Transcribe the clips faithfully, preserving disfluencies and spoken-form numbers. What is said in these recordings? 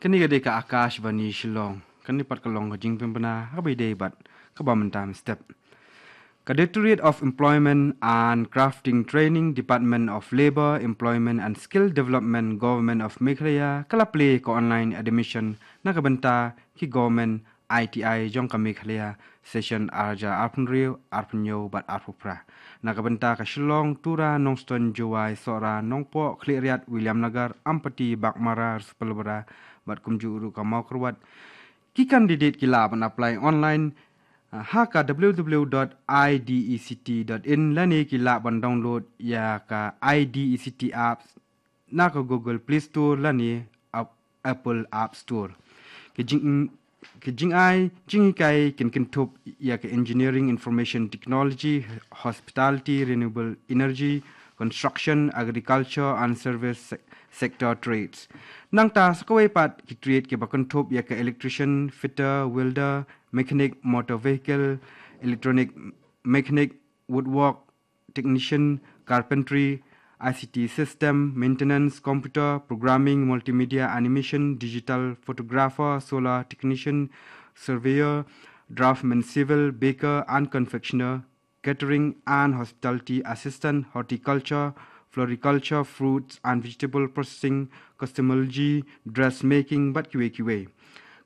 Kane ka dei ka Akashvani Shillong. Kane pat ka long ka jingpynbna ha kaba ïadei bad kaba mynta mynstep. Ka Directorate of Employment and Crafting Training, Department of Labour, Employment and Skill Development, Government of Meghalaya, ka la plie ka online admission na ka bynta ki government I T I jong ka Meghalaya, session ar hajar arphew hynriew, arphew hynñiew bad arphew phra. Na ka bynta ka Shillong, Tura, Nongstoiñ, Jowai, Sohra, Nongpoh, Khliehriat, Williamnagar, Ampati, Baghmara, Ranspelbara bad kumjuh ruh ka Mawkyrwat. Ki candidate ki lah ban apply online, ah, ha ka W W W dot I D E C T dot in lane ki lah ban download ïa ka I D E C T apps na ka Google Play Store lane Ap-, Apple App Store. Ki jing, ki jingai jinghikai kin kynthup ïa ka Engineering, Information Technology, Hospitality, Renewable Energy, Construction, Agriculture and Service se-, Sector Trades. Nangta sa kawei pat ki trade kiba kynthup ïa ka Electrician, Fitter, Welder, Mechanic, Motor Vehicle, Electronic, Mechanic, Woodwork, Technician, Carpentry, I C T System, Maintenance, Computer, Programming, Multimedia, Animation, Digital, Photographer, Solar Technician, Surveyor, Draftsman, Civil, Baker and Confectioner, Catering and Hospitality Assistant, Horticulture, Floriculture, Fruits and Vegetable Processing, Cosmetology, Dressmaking bad kiwei kiwei.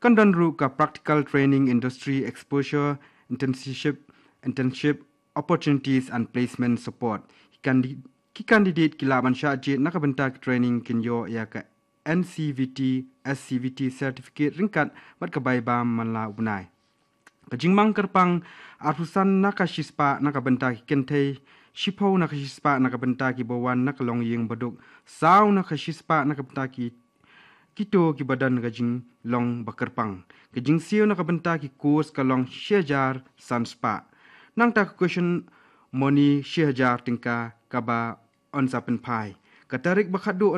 Kan don ruh ka Practical Training, Industry Exposure, Internship, Internship Opportunities and Placement Support. Ki candi-, ki candidate ki lah ban shah jied na ka bynta ka training kin ïoh ïa ka N C V T, S C V T certificate ryngkat bad ka bai bam man la u bnai. Ka jingmang kyrpang, arphew san na ka shispah na ka bynta ki kynthei, shiphew na ka shispah na ka bynta kiba wan na ka longïing baduk, saw na ka shispah na ka bynta ki kito kiba don ka jinglong ba kyrpang. Ka jingsiew na ka bynta ki course ka long shi hajar san spah. Nangta ka caution money shi hajar tyngka kaba yn sa pynphai. Ka tarik ba khatduh yn